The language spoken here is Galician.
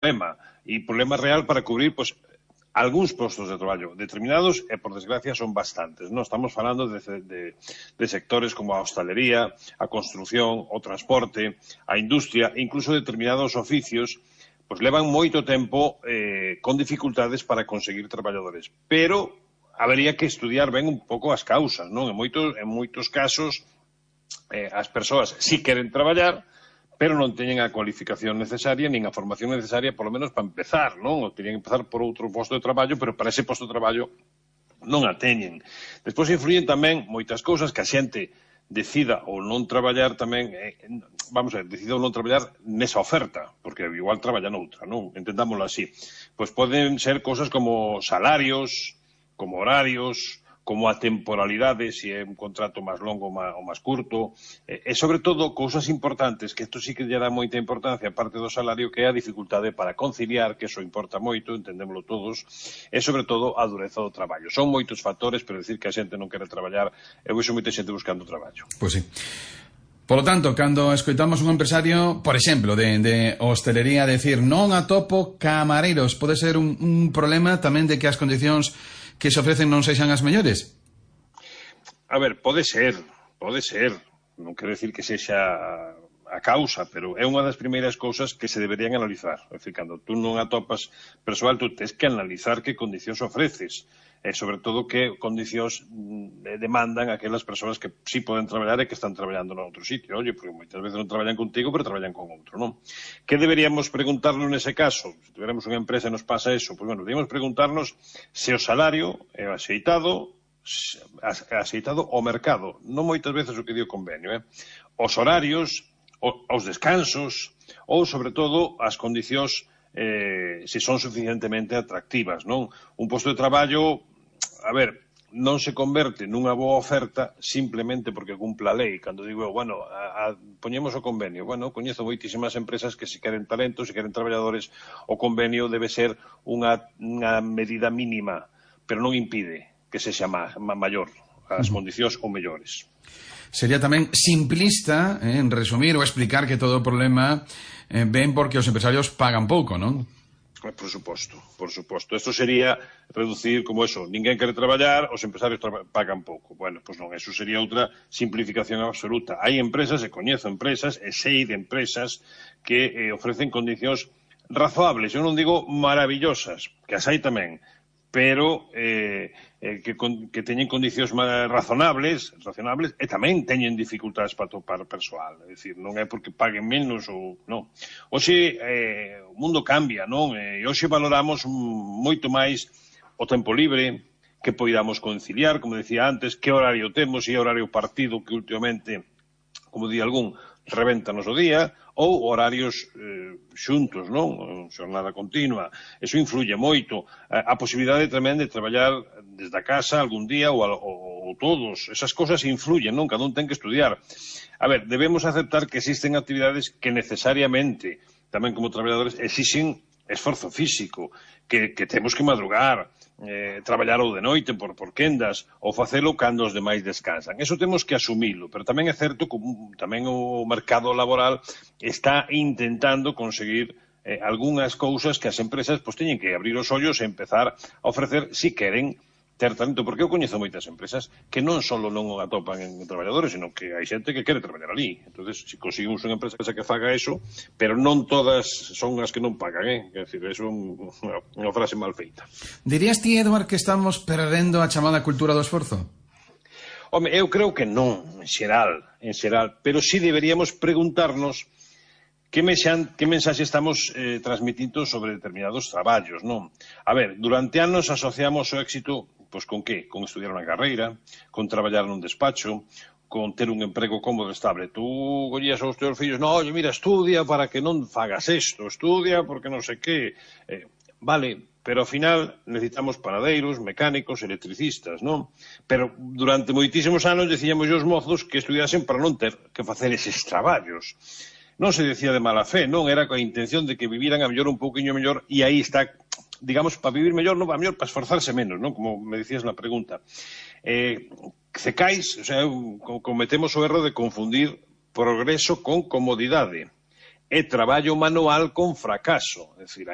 problema, e problema real para cubrir, pois, algúns postos de traballo determinados, e por desgracia son bastantes, non? Estamos falando de sectores como a hostalería, a construción, o transporte, a industria, incluso determinados oficios, pois levan moito tempo con dificultades para conseguir traballadores. Pero habería que estudiar ben un pouco as causas, non? En moitos casos, as persoas si queren traballar, pero non teñen a cualificación necesaria, nin a formación necesaria, polo menos para empezar, non? Ou teñen que empezar por outro posto de traballo, pero para ese posto de traballo non a teñen. Despois influyen tamén moitas cousas que a xente decida ou non traballar tamén, vamos a ver, decida ou non traballar nesa oferta, porque igual traballa noutra, non? Entendámoslo así. Pois poden ser cousas como salarios, como horarios, como a temporalidade, se é un contrato máis longo ou máis curto, e sobre todo cousas importantes, que isto sí que lle dá moita importancia, aparte do salario, que é a dificultade para conciliar, que eso importa moito, entendémoslo todos, e sobre todo a dureza do traballo. Son moitos factores, pero decir que a xente non quere traballar, eu vexo moita xente buscando traballo. Pois sí. Por lo tanto, cando escoitamos un empresario, por exemplo, de hostelería, decir non atopo camareiros, pode ser un problema tamén de que as condicións que se ofrecen non sexan as mellores? A ver, pode ser. Non quero decir que sexa a causa, pero é unha das primeiras cousas que se deberían analizar. É dicir, cando tú non atopas persoal, tú tens que analizar que condicións ofreces. E, sobre todo, que condicións demandan aquelas persoas que sí poden traballar e que están traballando en outro sitio. Oye, porque moitas veces non traballan contigo, pero traballan con outro, non? Que deberíamos preguntarnos nese caso? Se tuviéramos unha empresa e nos pasa eso, pois, bueno, deberíamos preguntarnos se o salario é axeitado ao mercado. Non moitas veces o que di o convenio, os horarios, os descansos, ou, sobre todo, as condicións se son suficientemente atractivas, non? Un posto de traballo, a ver, non se converte nunha boa oferta simplemente porque cumpla a lei. Cando digo, bueno, poñemos o convenio. Bueno, coñezo moitísimas empresas que se queren talentos, se queren traballadores, o convenio debe ser unha medida mínima, pero non impide que sexa maior, as condicións ou mellores. Sería tamén simplista, en resumir ou explicar que todo o problema ven porque os empresarios pagan pouco, non? Por suposto. Isto sería reducir como eso, ninguén quere traballar, os empresarios pagan pouco. Bueno, pois non, eso sería outra simplificación absoluta. Hai empresas, e coñezo empresas, e sei de empresas que ofrecen condicións razoables, eu non digo maravillosas, que as hai tamén, pero que teñen condicións razonables e tamén teñen dificultades para topar persoal. É dicir, non é porque paguen menos ou non. Hoxe o mundo cambia, non? E hoxe valoramos moito máis o tempo libre, que poidamos conciliar, como decía antes, que horario temos, e horario partido que últimamente, como di algún, revéntanos o día, ou horarios xuntos, non? Xornada continua. Eso influye moito. A posibilidade tamén de traballar desde a casa algún día ou todos. Esas cosas influyen, non? Cada un ten que estudiar. A ver, debemos aceptar que existen actividades que necesariamente, tamén como traballadores, exixen esforzo físico, que temos que madrugar, traballar ou de noite por quendas, ou facelo cando os demais descansan. Eso temos que asumilo, pero tamén é certo que tamén o mercado laboral está intentando conseguir algunhas cousas que as empresas teñen que abrir os ollos e empezar a ofrecer si queren ter talento, porque eu coñezo moitas empresas que non só non o atopan en traballadores, sino que hai xente que quere traballar ali. Entonces, se conseguimos unha empresa que faga eso, pero non todas son as que non pagan, Quer dizer, eso é unha frase mal feita. Dirías ti, Eduard, que estamos perdendo a chamada cultura do esforzo? Home, eu creo que non, en xeral, pero sí deberíamos preguntarnos que mensaxe estamos transmitindo sobre determinados traballos, non? A ver, durante anos asociamos o éxito, pois con que? Con estudiar unha carreira, con traballar nun despacho, con ter un emprego cómodo e estable. Tú collías aos teus fillos, no, oye, mira, estudia para que non fagas isto, estudia porque non sei que. Vale, pero ao final necesitamos panadeiros, mecánicos, electricistas, non? Pero durante moitísimos anos decíamos os mozos que estudiasen para non ter que facer eses traballos. Non se decía de mala fe, non? Era coa intención de que viviran a mellor un pouquiño mellor, e aí está, digamos, para vivir mellor, non, a mellor para esforzarse menos, non? Como me decías na pregunta. Cecais, o sea, cometemos o erro de confundir progreso con comodidade. é traballo manual con fracaso. É dicir,